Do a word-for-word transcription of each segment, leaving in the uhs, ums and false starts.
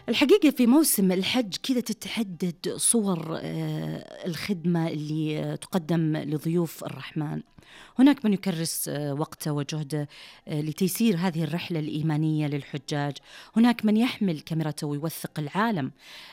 الحقيقة في موسم الحج كذا تتحدد صور آه، الخدمة اللي آه، تقدم لضيوف الرحمن. هناك من يكرس آه، وقته وجهده آه، لتيسير هذه الرحلة الإيمانية للحجاج. هناك من يحمل كاميرته ويوثق العالم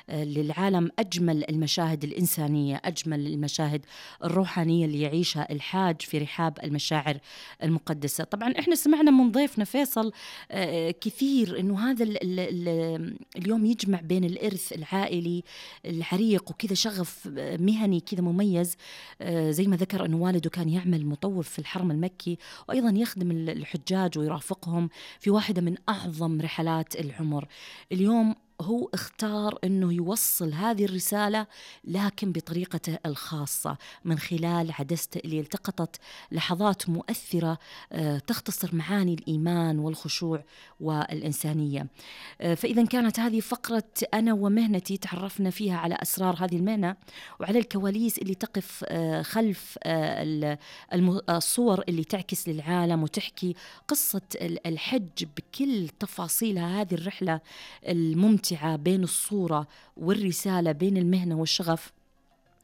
آه، للعالم أجمل المشاهد الإنسانية، أجمل المشاهد الروحانية اللي يعيشها الحاج في رحاب المشاعر المقدسة. طبعا إحنا سمعنا من ضيفنا فيصل آه، كثير إنه هذا ال ال ال اليوم يجمع بين الإرث العائلي العريق وكذا شغف آه، مهني كذا مميز. آه، زي ما ذكر أنه والده كان يعمل مطوف في الحرم المكي، وأيضا يخدم الحجاج ويرافقهم في واحدة من أعظم رحلات العمر. اليوم هو اختار أنه يوصل هذه الرسالة لكن بطريقته الخاصة من خلال عدسته اللي التقطت لحظات مؤثرة آه، تختصر معاني الإيمان والخشوع والإنسانية. آه، فإذا كانت هذه فقرة أنا ومهنتي، تعرفنا فيها على أسرار هذه المهنة وعلى الكواليس اللي تقف آه، خلف آه، ال- الم- الصور اللي تعكس للعالم وتحكي قصة ال- الحج بكل تفاصيلها. هذه الرحلة الممتعة بين الصورة والرسالة، بين المهنة والشغف،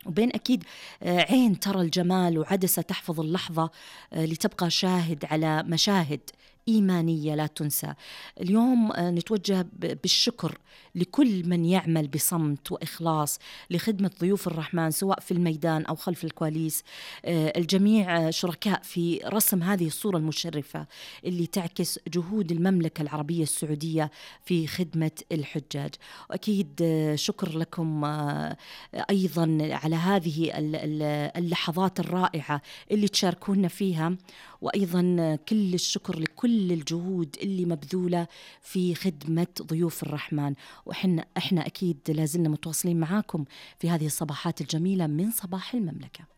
وبين أكيد آه، عين ترى الجمال وعدسة تحفظ اللحظة آه، لتبقى شاهد على مشاهد إيمانية لا تنسى. اليوم آه، نتوجه ب- بالشكر لكل من يعمل بصمت وإخلاص لخدمة ضيوف الرحمن سواء في الميدان أو خلف الكواليس. آه، الجميع آه، شركاء في رسم هذه الصورة المشرفة اللي تعكس جهود المملكة العربية السعودية في خدمة الحجاج. وأكيد آه، شكر لكم آه، أيضا على هذه ال- ال- اللحظات الرائعة اللي تشاركونا فيها، وأيضا كل الشكر لكل الجهود اللي مبذولة في خدمة ضيوف الرحمن. وإحنا إحنا أكيد لازلنا متواصلين معاكم في هذه الصباحات الجميلة من صباح المملكة.